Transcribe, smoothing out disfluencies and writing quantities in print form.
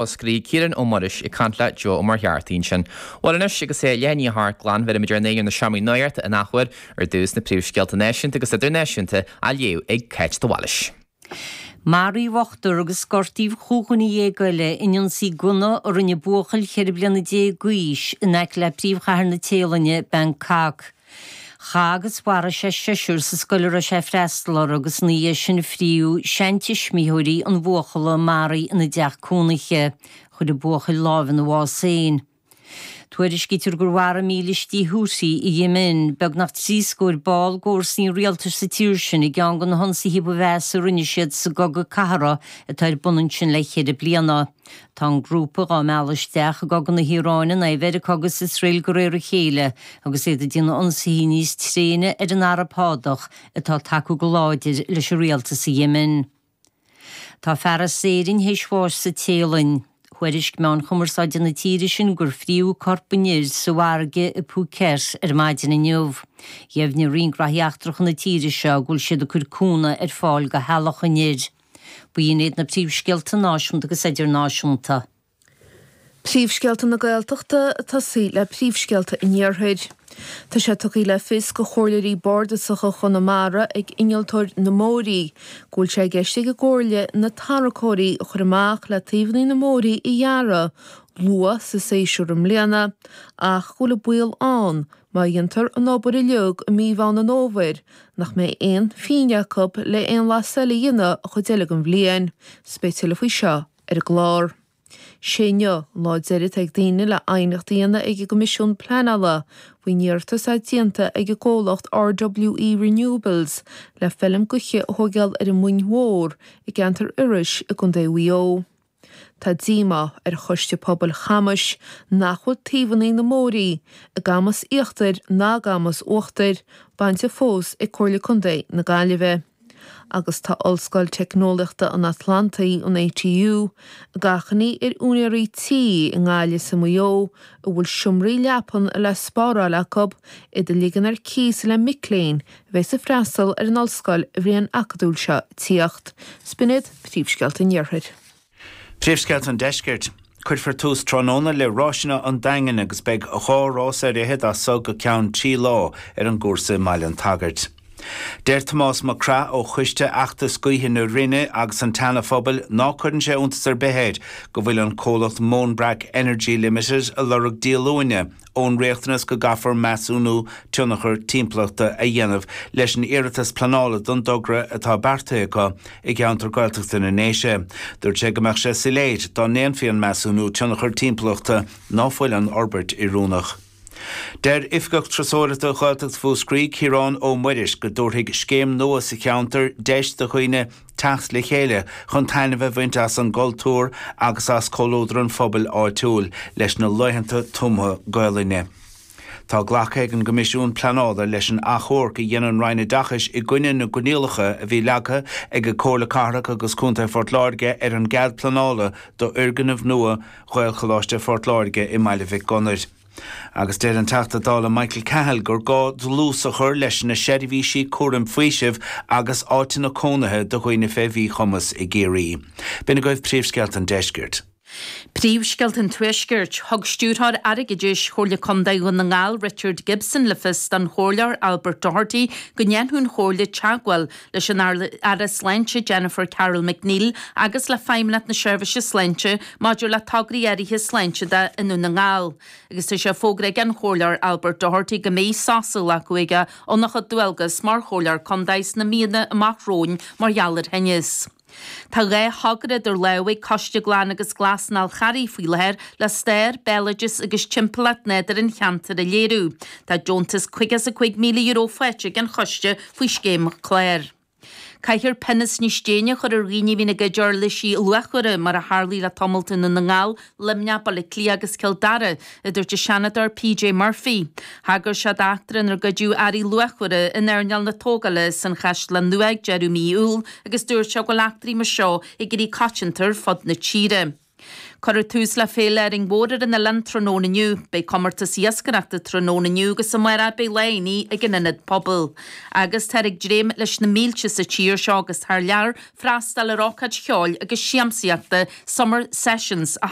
Mhúscraí, Ciarán Ó Muiris ag caint le Joe Ó Muircheartaigh ansin. Bhuel anois, agus é leath i ndiaidh a hocht glan, bheirfimid ár n-aghaidh ar na seomraí nuachta in athuair, ar dtús na príomhscéalta náisiúnta agus idirnáisiúnta á léamh ag Cáit de Bhailís. Maraíodh ochtar agus gortaíodh chúig dhuine dhéag eile in ionsaí gunna a rinne buachaill 14 bliana d'aois in aice le príomhchathair na Téalainne, Bangkok. Chaith agus mharaigh sé seisear sa scoil a raibh sé ag freastal orthu agus ina dhiaidh sin fríodh seantuismitheoirí an bhuachalla a maraíodh ina dteach cónaithe. Chuir an buachaill lámh ina bhás féin. Tuairiscítear gur mharaigh mílístí Houthi i Yemen beagnach 30 scór ball d'fhórsaí an rialtais sa tír sin i gceann de na hionsaithe ba mheasa a rinne siad sa gcogadh cathartha atá ar bun ansin le ceithre bliana. Tá an grúpa dhá mealladh isteach i gcogadh na hIaráine in aghaidh Mheiriceá agus Iosrael de réir a chéile agus iad ag déanamh ionsaithe níos tréine ar an Araib Shádach atá ag tacú go láidir leis an rialtas i Yemen. Tá fear as Éirinn théis bháis sa Téalainn. Thuairisc meáin chumarsáide na tíre sin gur fríodh corp an fhir sa bhfarraige i Phuket ar maidin inniu. Dheimhnigh Roinn Gnóthaí Eachtracha na tíre seo go bhfuil siad ag cur cúnamh ar fáil do theaghlach an fhir. B'in iad na príomhscéalta náisiúnta agus idirnáisiúnta. Príomhscéalta na Gaeltachta ag tosaí le príomhscéalta an Iarthair. Tá sé tugtha le fios do chomhairleoirí bardasacha Chonamara ag innealtóir na mbóithrí go bhfuil sé i gceist ag an gComhairle na tarracóirí a chur amach le taobhanna na mbóithrí a ghearradh luath sa séasúr i mbliana ach go bhfuil an baol ann Má dhéantar an obair uilig i mí Mheán an Fhómhair, nach mbeidh aon phingin acu le aon mhaitheas eile a dhéanamh an chuid eile den bhliain. 'S beidh tuilleadh faoi seo ar an gclár. Sé inniu an lá deiridh atá ag daoine le aighneacht a dhéanamh ag an gCoimisiún Pleanála faoin iarratas atá déanta ag an gcomhlacht RWE Renewables le feilm gaoithe a thóigeáil ar an Mhuing Mhór i gceantar Iorrais i gContae Mhaigh Eo. Tá díomá ar Choiste Pobail Chamais nach bhfuil taobhanna na mbóithrí i gCamas Íochtair ná i gCamas Uachtair bainte fós ag Comhairle Contae na Gaillimhe. Agus tá Ollscoil Teicneolaíochta an Atlantaigh, an ATU, ag achainí ar úinéirí tí i nGaillimh is i Maigh Eo a bhfuil seomraí leapan le spáráil acu iad a ligean ar cíos le mic léinn a bheas ag freastal ar an ollscoil an bhliain acadúil seo ag tíocht. 'S b'in iad príomhscéalta an Iarthair. Príomhscéalta an Deiscirt. Cuirfear tús tráthnóna le Ráiseanna an Daingin agus beidh 2 rás ar fhichead as so go ceann 3 lá ar an gcúrsa i mBaile an tSagairt. Deir Tomás Mac Craith ó Choiste Fheachtas Gaoithe na Rinne agus an tSeana Phobail ná cuireann sé iontas ar bith air go bhfuil an comhlacht Móinbreac Energy Limited a lorg díolúine ón riachtanas go gcaithfear measúnú tionchar timpeallachta a dhéanamh leis an iarratas pleanála don dtogra atá beartaithe acu i gceantar Gaeltachta na nDéise. Dúirt sé go mbeadh sé soiléir dá ndéanfaí an measúnú tionchar timpeallachta ná fuil an fhorbairt oiriúnach. Deir Oifigeach Turasóireachta Ghaeltacht Mhúscraí, Ciarán Ó Muiris, go dtabharfaidh scéim nua sa cheantar deis do dhaoine teacht le chéile chun taitneamh a bhaint as an gcultúr agus as comhluadar an phobail áitiúil leis na laethanta tumtha Gaolainne. Tá glactha ag an gCoimisiún Pleanála leis an achomharc a dhein an Roinn Oideachais i gcoinne na gcoinníollacha a bhí leagtha ag Comhairle Cathrach agus Contae Phort Láirge ar an gcead pleanála d'fhoirgneamh nua Ghaelcholáiste Phort Láirge i mBaile Mhic Gonair. Agus deir an Teachta Dála Michael Cahill gur gá dlús a chur leis na seirbhísí cúraim faoisimh agus áiteanna cónaithe do dhaoine fé mhíchumas i gCiarraí. B'in agaibh príomhscéalta an deiscirt. Príomhscéalta an Tuaiscirt. Thug Stiúrthóir Airgeadais Chomhairle Contae Dhún na nGall, Richard Gibson, le fios don Chomhairleoir Albert Doherty go ndéanfaidh an Chomhairle teagmháil leis an Aire Sláinte Jennifer Carroll MacNeill agus le Feidhmeannacht na Seirbhíse Sláinte maidir le tograí áirithe sláinte de i nDún na nGall agus tá sé fógartha ag an Chomhairleoir Albert Doherty go mbeidh sos á ghlacadh aige óna chuid dualgas mar Chomhairleoir Contae sna míonna amach romhainn mar gheall ar thinneas. Tá 2 thogra idir lámha ag Coiste Glan agus Glas an Fháil Charraigh faoi láthair le stair, béaloideas agus timpeallacht nádúir an cheantair a léiriú. Tá deontas €55,000 faighte ag an choiste faoi scéim clár. Caithfear pionós níos déine a chur ar dhaoine a bhíonn ag goid uirlisí luachmhara, mar a tharlaigh le tamalt i nDún na nGall, Luimneach, Baile Átha Cliath agus Cill Dara, a dúirt an Seanadóir PJ Murphy. Thagair sé d'eachtra inar goideadh earraí luachmhara in earnáil na tógála san Chaisleán Nua ag deireadh mí Iúil agus dúirt sé go bhfuil eachtraí mar seo ag éirí coitianta ar fud na tíre. Cuirfear tús le Féile Árainn Mhór ar an oileán tráthnóna inniu. Beidh comórtas iascaireachta tráthnóna inniu agus amárach beidh lá aonaigh ag an Ionad Pobail. Agus táthar ag dréim leis na mílte sa tír seo agus thar lear freastal ar ócáid cheoil agus siamsaíochta Summer Sessions a.